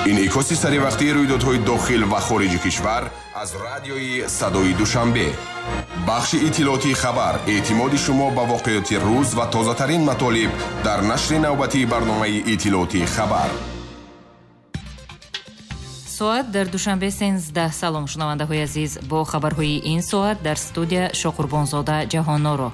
Инъикоси саривақтии рӯйдодҳои дохил ва хориҷи кишвар аз радиои Садои Душанбе. Бахши иттилоотии хабар, эътимоди шумо ба воқеоти рӯз ва тозатарин матолиб дар нашри навбатии барномаи иттилоотии хабар. Соат дар Душанбе 13. Салом, шунавандаҳои азиз, бо хабарҳои ин соат дар студия Шоқурбонзода Ҷаҳонноро.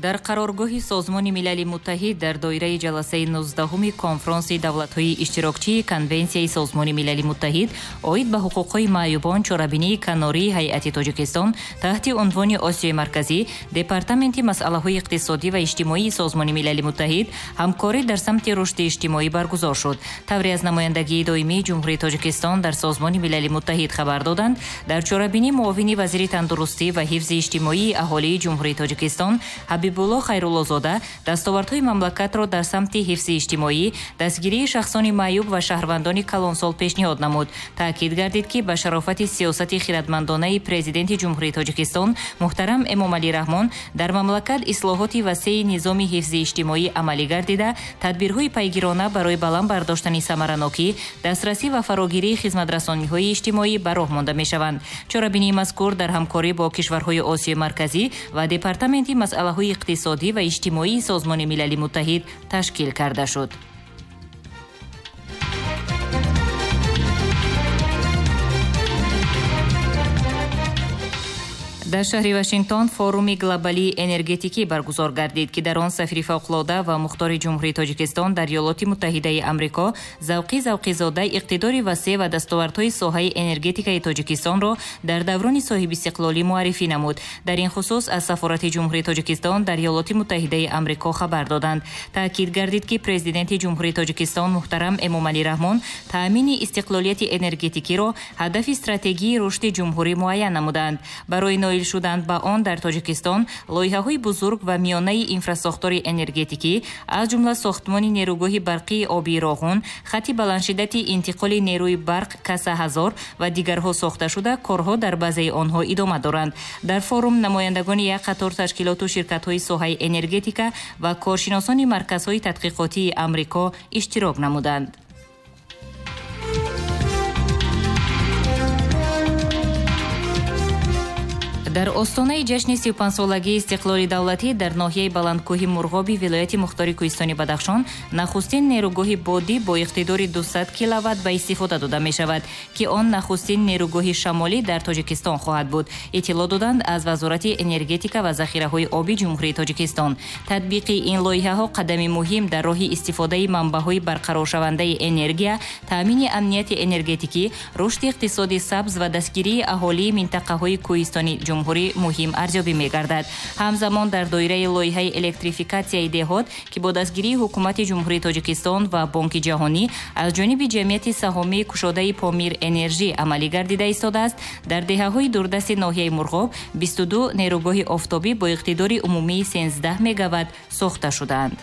Дар қароргоҳи Созмони Милали Муттаҳид дар доираи ҷаласаи 19-уми конфронси давлатҳои иштирокчии Конвенсияи Созмони Милали Муттаҳид оид ба ҳуқуқҳои маъюбон чорабинии канории ҳайати Тоҷикистон таҳти унвони Осиёи Марказӣ, Департаменти масъалаҳои иқтисодӣ ва иҷтимоии Созмони Милали Муттаҳид, ҳамкорӣ дар самти рушди иҷтимоӣ баргузор шуд. Тавре аз намояндагии доимии Ҷумҳурии Тоҷикистон дар Созмони Милали Муттаҳид хабар доданд, дар чорабинӣ муовини вазири тандурустӣ ва ҳифзи иҷтимоии аҳолии Ҷумҳурии Тоҷикистон Ҳабибулло Хайруллозода дастовардҳои мамлакатро дар самти ҳифзи иҷтимоӣ, дастгирии шахсони маъюб ва шаҳрвандони калонсол пешниҳод намуд. Таъкид гардид, ки ба шарофати сиёсати хиратмандонаи Президенти Ҷумҳурии Тоҷикистон муҳтарам Эмомалӣ Раҳмон дар мамлакат ислоҳоти васеи низоми ҳифзи иҷтимоӣ амалӣ гардида, тадбирҳои пайгирона барои баланд бардоштани самаранокӣ, дастрасӣ ва фарогирии хизматрасониҳои иҷтимоӣ ба роҳ монда мешаванд. Чорабинии мазкур дар ҳамкорӣ бо кишварҳои Осиёи Марказӣ ва Департаменти масъалаҳои иқтисодӣ ва иҷтимоии Созмони Милали Муттаҳид ташкил карда шуд. Дар шаҳри Вашингтон форуми глобалии энергетикӣ баргузор гардид, ки дар он сафири фавқулода ва мухтори Ҷумҳурии Тоҷикистон дар Иёлоти Муттаҳидаи Амрико Завқи Завқизода иқтидори васеъ ва дастовардҳои соҳаи энергетикаи Тоҷикистонро дар даврони соҳибистиқлолӣ муаррифӣ намуд. Дар ин хусус аз сафорати Ҷумҳурии Тоҷикистон дар Иёлоти Муттаҳидаи Амрико хабар доданд. Таъкид гардид, ки Президенти Ҷумҳурии Тоҷикистон муҳтарам Эмомалӣ Раҳмон таъмини истиқлолияти энергетикиро ҳадафи стратегии рушди ҷумҳурӣ муайян намуданд. Барои ноил шуданд ба он дар Тоҷикистон лоиҳаҳои бузург ва миёнаи инфрасохтори энергетикӣ, аз ҷумла сохтмони нерӯгоҳи барқии обии Роғун, хати баландшиддати интиқоли нерӯи барқ Каса 1000 ва дигарҳо сохта шуда, корҳо дар баъзеи онҳо идома доранд. Дар форум намояндагони як қатор ташкилоту ширкатҳои соҳаи энергетика ва коршиносони марказҳои тадқиқотии Амрико иштирок намуданд. Дар остонаи ҷашни 35-солагии истиқлоли давлатӣ дар ноҳияи баландкӯҳи Мурғоби вилояти мухтори кӯҳистони Бадахшон нахустин нерӯгоҳи бодӣ бо иқтидори 200 киловатт ба истифода дода мешавад, ки он нахустин нерӯгоҳи шамолӣ дар Тоҷикистон хоҳад буд, иттилоъ доданд аз Вазорати энергетика ва захираҳои оби Ҷумҳурии Тоҷикистон. Татбиқи ин лоиҳаҳо қадами муҳим дар роҳи истифодаи манбаъҳои барқароршавандаи энергия, таъмини амнияти энергетикӣ, рушди иқтисоди сабз ва дастгирии аҳолии минтақаҳои кӯҳистони ҷумҳурӣ муҳим арзёбӣ мегардад. Ҳамзамон дар доираи лоиҳаи электрификатсияи деҳот, ки бо дастгирии Ҳукумати Ҷумҳурии Тоҷикистон ва Бонки Ҷаҳонӣ аз ҷониби ҷамъияти саҳомии кушодаи Помир Энержӣ амалӣ гардида истодааст, дар деҳаҳои дурдасти ноҳияи Мурғоб 22 нерӯгоҳи офтобӣ бо иқтидори умумии 13 мегаватт сохта шудаанд.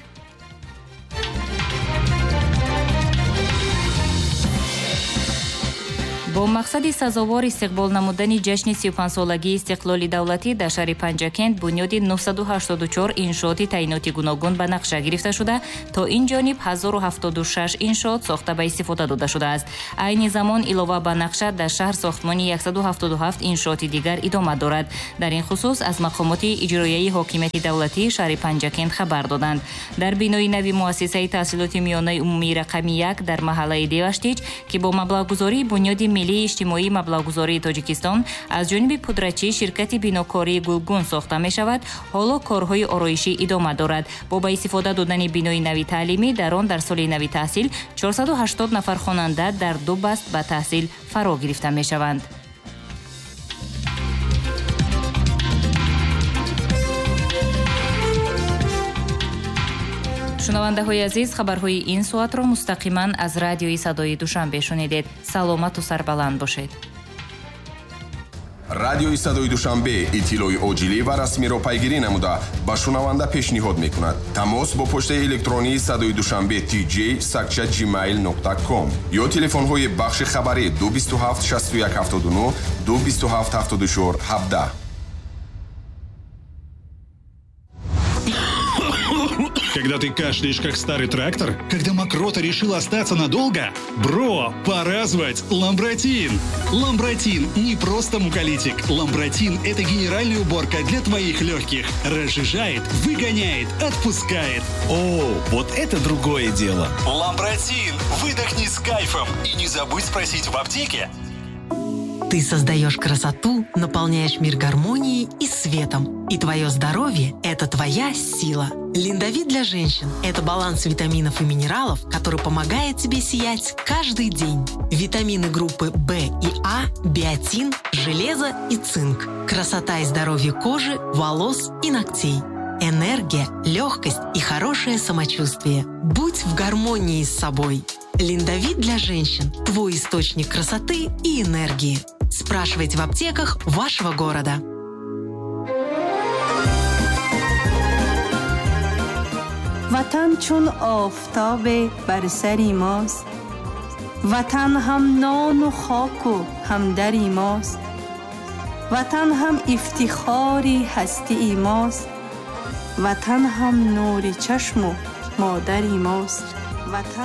Бо мақсади сазовор истиқбол намудани ҷашни 35-солагии истиқлоли давлатӣ дар шаҳри Панҷакент бунёди 984 иншооти таъиноти гуногун ба нақша гирифта шуда, то ин ҷониб 1076 иншоот сохта ба истифода дода шудааст. Айни замон илова ба нақша дар шаҳр сохтмони 177 иншооти дигар идома дорад. Дар ин хусус аз мақомоти иҷроияи ҳокимияти давлатии шаҳри Панҷакент хабар доданд. Дар бинои нави муассисаи таҳсилоти миёнаи умумии рақами 1 дар маҳаллаи Деваштич, ки бо маблағгузории бунёди миллии иҷтимоии маблағгузории Тоҷикистон аз ҷониби пудрачӣ ширкати бинокории Гулгун сохта мешавад, ҳоло корҳои ороишӣ идома дорад. Бо ба истифода додани бинои нави таълимӣ дар он дар соли нави таҳсил 480 нафар хонанда дар ду баст ба таҳсил фаро гирифта мешаванд. Шунавандаҳои азиз, хабарҳои ин соатро мустақиман аз радиои Садои Душанбе шунидед. Саломату сарбаланд бошед. Радиои Садои Душанбе иттилои оҷилӣ ва расмиро пайгирӣ намуда ба шунаванда пешниҳод мекунад. Тамос бо почтаи электронии Садои Душанбе tj@gmail.com ё телефонҳои бахши хабарӣ 227 61 79 227 74 17. Когда ты кашляешь, как старый трактор? Когда мокрота решила остаться надолго? Бро, пора звать Ламбратин! Ламбратин не просто муколитик. Ламбратин – это генеральная уборка для твоих легких. Разжижает, выгоняет, отпускает. О, вот это другое дело. Ламбратин! Выдохни с кайфом и не забудь спросить в аптеке. Ты создаешь красоту, наполняешь мир гармонией и светом. И твое здоровье – это твоя сила. Линдовит для женщин – это баланс витаминов и минералов, который помогает тебе сиять каждый день. Витамины группы В и А, биотин, железо и цинк. Красота и здоровье кожи, волос и ногтей. Энергия, легкость и хорошее самочувствие. Будь в гармонии с собой. Линдовит для женщин – твой источник красоты и энергии. Спрашивайте в аптеках вашего города. Ватан чун офтоб бар сари мост, Ватан ҳам нону хоку ҳам дари мост, Ватан ҳам ифтихори ҳастии мост, Ватан ҳам нури чашму модари мост. Ватан.